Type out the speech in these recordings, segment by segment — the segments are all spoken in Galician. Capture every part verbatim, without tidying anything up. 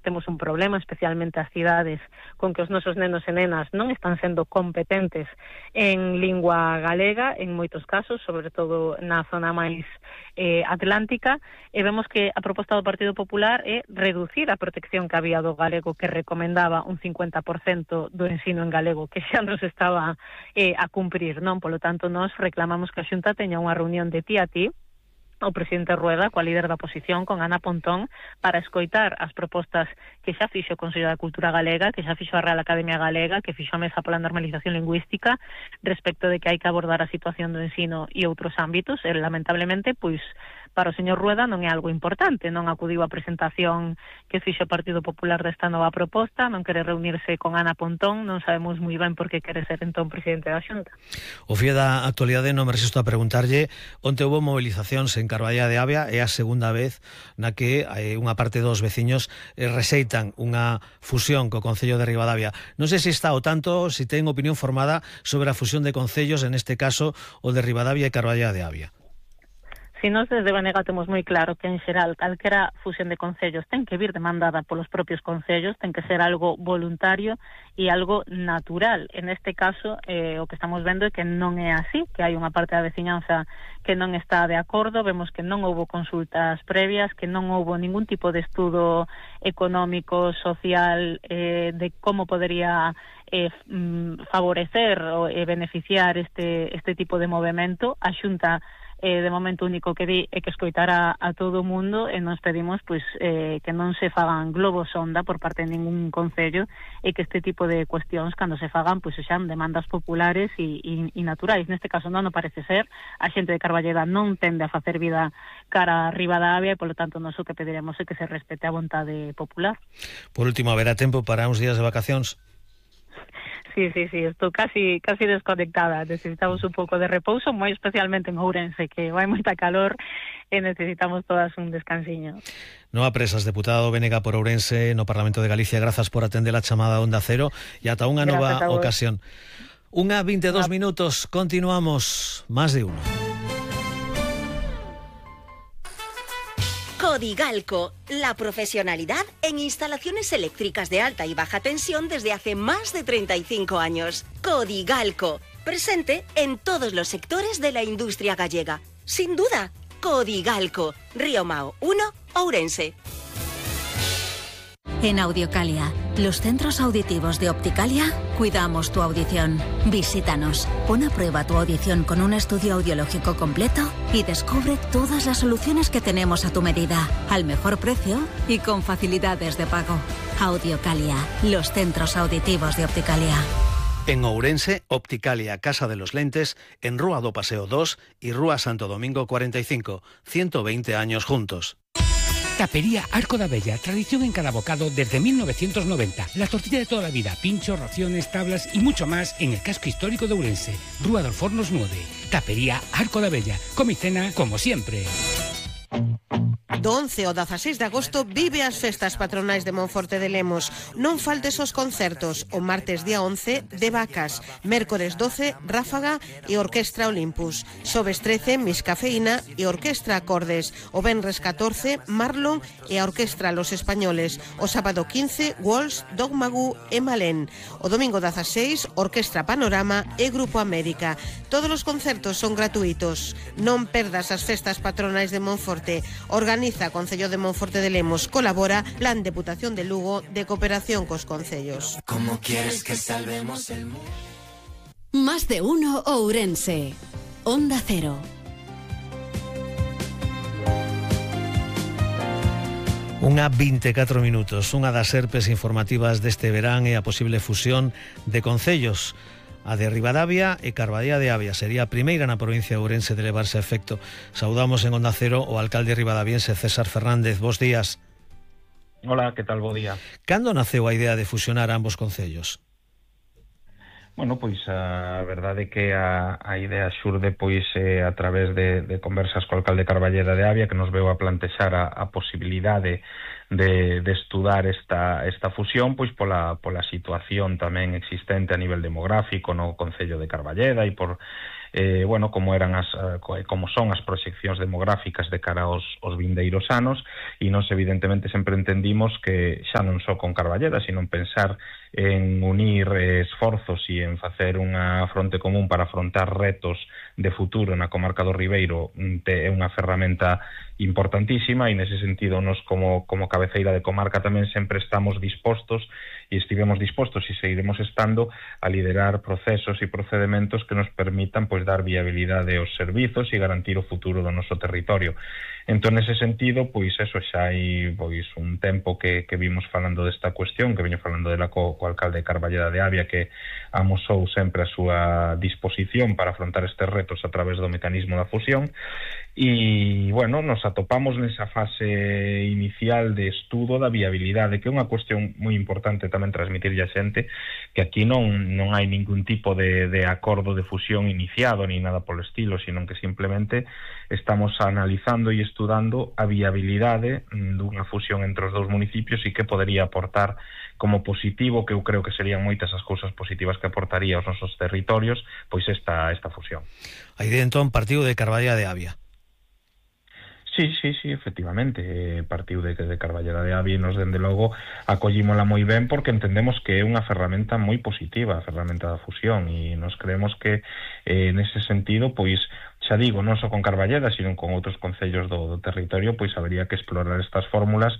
temos un problema, especialmente as cidades, con que os nosos nenos e nenas non están sendo competentes en lingua galega, en moitos casos, sobre todo na zona máis eh, atlántica, e vemos que a proposta do Partido Popular é reducir a protección que había do galego, que recomendaba un cincuenta por cento do ensino en galego, que xa nos estaba eh, a cumprir, non? Polo tanto, nós reclamamos que a Xunta teña unha reunión de ti a ti, o presidente Rueda, coa líder da oposición, con Ana Pontón, para escoitar as propostas que xa fixo o Consello da Cultura Galega, que xa fixo a Real Academia Galega, que fixo a Mesa pola Normalización Lingüística, respecto de que hai que abordar a situación do ensino e outros ámbitos, e lamentablemente, pois, para o señor Rueda non é algo importante, non acudiu á presentación que fixo o Partido Popular desta nova proposta, non quere reunirse con Ana Pontón, non sabemos moi ben por que quere ser entón presidente da Xunta. O fío da actualidade non me resisto a preguntarlle, onte houve movilizacións en Carballeda de Avia, é a segunda vez na que eh, unha parte dos veciños eh, reseitan unha fusión co Concello de Ribadavia. Non sei se está ao tanto, se ten opinión formada sobre a fusión de concellos, en este caso o de Ribadavia e Carballeda de Avia. Si nós desde Banega temos moi claro que, en xeral, calquera fusión de concellos ten que vir demandada polos propios concellos, ten que ser algo voluntario e algo natural. En este caso, eh, o que estamos vendo é que non é así, que hai unha parte da veciñanza que non está de acordo, vemos que non houbo consultas previas, que non houbo ningún tipo de estudo económico, social, eh, de como podería eh, favorecer ou eh, beneficiar este, este tipo de movimento. A Xunta Eh, de momento único que di é que escoitara a todo o mundo, e nos pedimos pois eh, que non se fagan globos sonda por parte de ningún concello, e que este tipo de cuestións, cando se fagan, pois sexan demandas populares e, e, e naturais. Neste caso non, non parece ser. A xente de Carballeda non tende a facer vida cara a Ribadavia, e polo tanto nós o que pediremos é que se respete a vontade popular. Por último, haberá tempo para uns días de vacacións? Sí, sí, sí, estou casi casi desconectada. Necesitamos un pouco de repouso, moi especialmente en Ourense, que vai moita calor e necesitamos todas un descansiño. Noa Presas, deputada do Bénega por Ourense no Parlamento de Galicia, grazas por atender a chamada Onda Cero e ata unha nova ocasión. Unha vinte e dos minutos, continuamos, máis de uno. Codigalco, la profesionalidad en instalaciones eléctricas de alta y baja tensión desde hace más de treinta y cinco años. Codigalco, presente en todos los sectores de la industria gallega. Sin duda, Codigalco, Río Mao uno, Ourense. En Audiocalia, los centros auditivos de Opticalia, cuidamos tu audición. Visítanos, pon a prueba tu audición con un estudio audiológico completo y descubre todas las soluciones que tenemos a tu medida, al mejor precio y con facilidades de pago. Audiocalia, los centros auditivos de Opticalia. En Ourense, Opticalia, Casa de los Lentes, en Rúa do Paseo dos y Rúa Santo Domingo cuarenta y cinco, ciento veinte años juntos. Tapería Arco da Bella, tradición en cada bocado desde mil novecientos noventa. La tortilla de toda la vida, pinchos, raciones, tablas y mucho más en el casco histórico de Ourense. Rúa dos Fornos nueve. Tapería Arco da Bella. Come y cena como siempre. Do once ao dezaseis de agosto vive as festas patronais de Monforte de Lemos. Non faltes os concertos. O martes día once, de Vacas. Mércores doce, Ráfaga e Orquestra Olympus. Xoves trece, Miss Cafeína e Orquestra Acordes. O venres catorce, Marlon e a Orquestra Los Españoles. O sábado quince, Walsh, Dogmagu e Malén. O domingo dezaseis, Orquestra Panorama e Grupo América. Todos os concertos son gratuitos. Non perdas as festas patronais de Monforte. Organiza Concello de Monforte de Lemos, colabora Plan Deputación de Lugo de cooperación cos concellos. ¿Cómo quieres que salvemos el mundo? Más de uno Ourense. Onda Cero. Unha vinte e catro minutos, unha das serpes informativas deste verán é a posible fusión de concellos. A de Ribadavia e Carballeda de Avia sería a primeira na provincia de Ourense de levarse a efecto. Saudamos en Onda Cero o alcalde ribadaviense César Fernández. Bos días. Hola, que tal? Bo día. Cando naceu a idea de fusionar ambos concellos? Bueno, pois a verdade é que a, a idea xurde pois eh, a través de, de conversas co alcalde Carballeda de Avia, que nos veu a plantexar a, a posibilidade de, de estudar esta, esta fusión, pois pola, pola situación tamén existente a nivel demográfico no Concello de Carballeda e por Eh, bueno, como eran as como son as proxeccións demográficas de cara aos, aos vindeiros anos, e nós evidentemente sempre entendimos que xa non só con Carballeda, sino en pensar en unir esforzos e en facer unha fronte común para afrontar retos de futuro na comarca do Ribeiro é unha ferramenta importantísima, e nese sentido nos como, como cabeceira de comarca tamén sempre estamos dispostos e estivemos dispostos e seguiremos estando a liderar procesos e procedementos que nos permitan pois dar viabilidade aos servizos e garantir o futuro do noso territorio. Entón, nese sentido, pois eso xa hai pois un tempo que, que vimos falando desta cuestión, que veño falando dela co, co alcalde de Carballeda de Avia, que amosou sempre a súa disposición para afrontar estes retos a través do mecanismo da fusión. E, bueno, nos atopamos nesa fase inicial de estudo da viabilidade, que é unha cuestión moi importante tamén transmitirlle a xente, que aquí non, non hai ningún tipo de, de acordo de fusión iniciado, ni nada polo estilo, sino que simplemente estamos analizando e estudando a viabilidade dunha fusión entre os dous municipios e que podería aportar como positivo, que eu creo que serían moitas as cousas positivas que aportaría aos nosos territorios, pois esta, esta fusión. Aí de entón partiu de Carballeda de Avia. Sí, sí, sí, efectivamente, eh, partiu de, de Carballeda de Avia e nos, dende logo, acollímola moi ben porque entendemos que é unha ferramenta moi positiva, a ferramenta da fusión, e nos creemos que, eh, nese sentido, pois, xa digo, non só con Carballeda, sino con outros concellos do, do territorio, pois habería que explorar estas fórmulas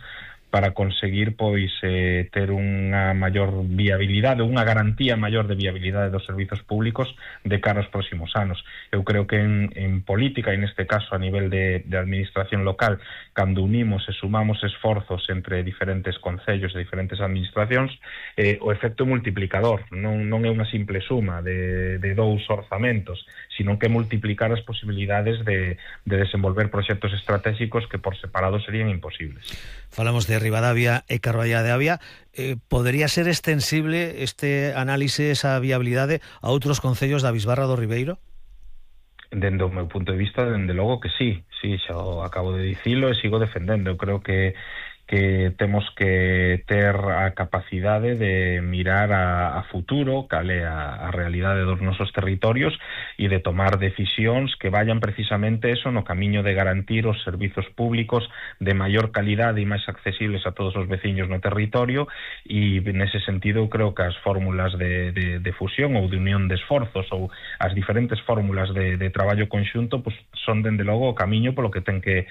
para conseguir pois eh, ter unha maior viabilidade, unha garantía maior de viabilidade dos servizos públicos de cara aos próximos anos. Eu creo que en, en política, e neste caso a nivel de, de administración local, cando unimos e sumamos esforzos entre diferentes concellos e diferentes administracións, eh, o efecto multiplicador non, non é unha simple suma de, de dous orzamentos, sino que multiplicar as posibilidades de, de desenvolver proxectos estratégicos que por separado serían imposibles. Falamos de Ribadavia e Carballeda de Avia. Eh, podería ser extensible este análise, esa viabilidade, a outros concellos da Bisbarra do Ribeiro? Dende o meu punto de vista, dende logo que sí, sí, xa o acabo de dicilo e sigo defendendo. Eu creo que que temos que ter a capacidade de mirar a, a futuro, cal é a, a realidade dos nosos territorios, e de tomar decisións que vayan precisamente eso no camiño de garantir os servizos públicos de maior calidade e máis accesibles a todos os veciños no territorio, e nese sentido creo que as fórmulas de, de, de fusión ou de unión de esforzos ou as diferentes fórmulas de, de traballo conxunto pues, son dende logo o camiño polo que ten que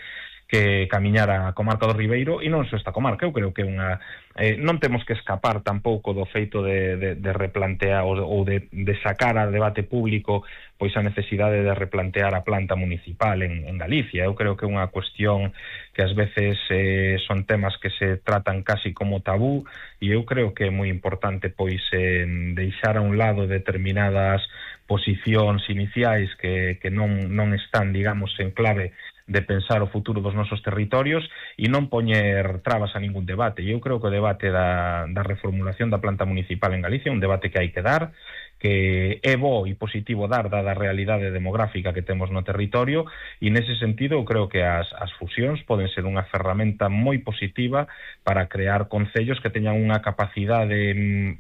que camiñar a comarca do Ribeiro, e non só esta comarca. Eu creo que unha eh, non temos que escapar tampouco do feito de, de, de replantear ou, ou de, de sacar a debate público pois a necesidade de replantear a planta municipal en, en Galicia. Eu creo que é unha cuestión que ás veces eh, son temas que se tratan casi como tabú, e eu creo que é moi importante pois eh, deixar a un lado determinadas posicións iniciais que, que non, non están, digamos, en clave de pensar o futuro dos nosos territorios e non poñer trabas a ningún debate. E eu creo que o debate da, da reformulación da planta municipal en Galicia é un debate que hai que dar, que é bo e positivo dar dada a realidade demográfica que temos no territorio, e nese sentido eu creo que as, as fusións poden ser unha ferramenta moi positiva para crear concellos que teñan unha capacidade,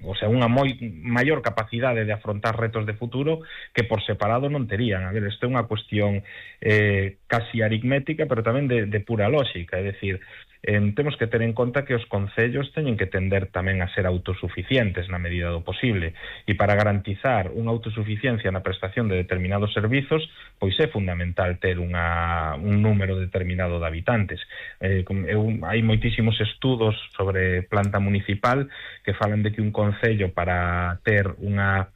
o sea, unha moi maior capacidade de afrontar retos de futuro que por separado non terían. A ver, isto é unha cuestión eh, casi aritmética, pero tamén de, de pura lógica, é dicir, Eh, temos que ter en conta que os concellos teñen que tender tamén a ser autosuficientes na medida do posible, e para garantizar unha autosuficiencia na prestación de determinados servizos, pois é fundamental ter unha, un número determinado de habitantes. Eh, eu, hai moitísimos estudos sobre planta municipal que falan de que un concello, para ter unha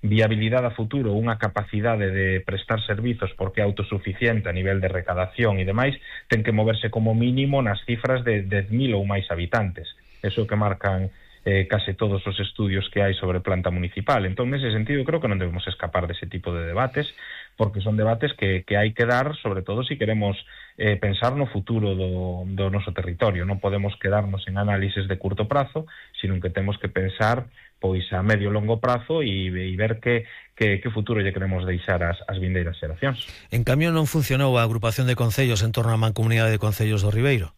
viabilidade a futuro, unha capacidade de prestar servizos porque é autosuficiente a nivel de recadación e demais, ten que moverse como mínimo nas cifras de dez mil ou máis habitantes. Eso que marcan eh, case todos os estudios que hai sobre planta municipal. Entón, nese sentido, creo que non debemos escapar dese tipo de debates, porque son debates que, que hai que dar, sobre todo se si queremos eh, pensar no futuro do, do noso territorio. Non podemos quedarnos en análises de curto prazo, sino que temos que pensar pois a medio e longo prazo e, e ver que, que, que futuro lle queremos deixar as, as vindeiras xeracións. En cambio, non funcionou a agrupación de concellos en torno á Mancomunidade de Concellos do Ribeiro?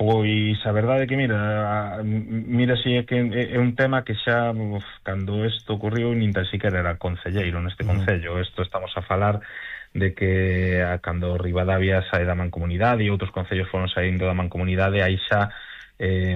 Pois a verdade é que, mira, mira si é que é un tema que xa, uf, cando isto ocurriu, nin tan siquiera era concelleiro neste concello. Isto estamos a falar de que a, cando Ribadavia sae da mancomunidade e outros concellos foron saindo da mancomunidade, aí xa eh,